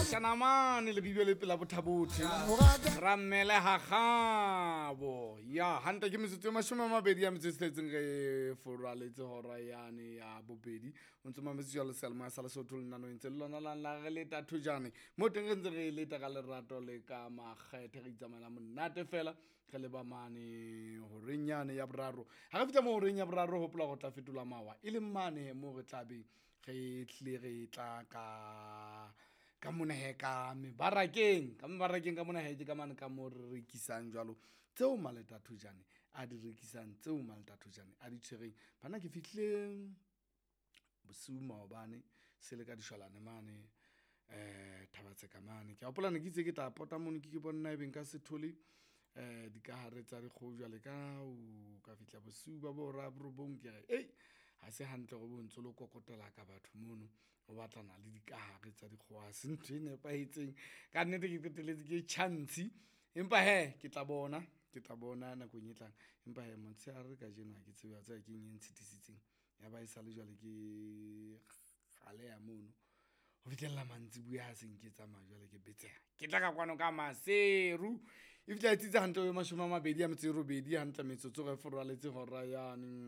Mashanamane lebibio le pela bothabothe rammele gagabo ya hantle ke metsotso e 20 ya metso e tsheletseng re foraletse hora yane ya bobedi. O ntse mametse jalo seyalemoya sa Lesotho lenanong ntse le lona lang la re leta thojane mo teng re ntse re leta ka lerato le ka makgethe, re itsamaela monate fela re leba mane horeng yane ya boraro. Ha re fihla mo horeng ya boraro, hopola gore tla fetola mawa e leng mane mo re tlabeng re tlile re tla ka mona he, ka mebarakeng, ka mebarakeng ka mona he, ke ka mane ka mo re rekisang jwalo tseo Maleta Thojane a di rekisang, tseo Maleta Thojane a di tshwereng. Banna ke fihlile bosiu maobane se le ka dishwalane mane Thaba-Tseka mane. Ke a hopola ne ke itse ke tla pota mono, ke ke bone na ebe nka se thole dikahare tsa dikgoho jwale ka o ka fihla bosiu ba bo hora ya borobong. Ke re ei, ha se hantle hore o ntso lo kokotela ka batho mono o batlana le dikahare tsa dikgoho, ha se ntho e nepahetseng. Ka nnete ke qetelletse ke tjha ntshi, empa hee ke tla bona, ke tla bona nakong e tlang. Empa hee motshehare kajeno ha ke tsebe wa tseba keng e ntshitisitseng. Ya ba e sale jwale ke kgaleha mono ho fihlella mantsibuya ha se nke tsamaya jwale ke betseha, ke tla ka kwano ka Maseru. E fihla e tsitsa hantle ho 28 hantle metsotso re furaletse hora yane.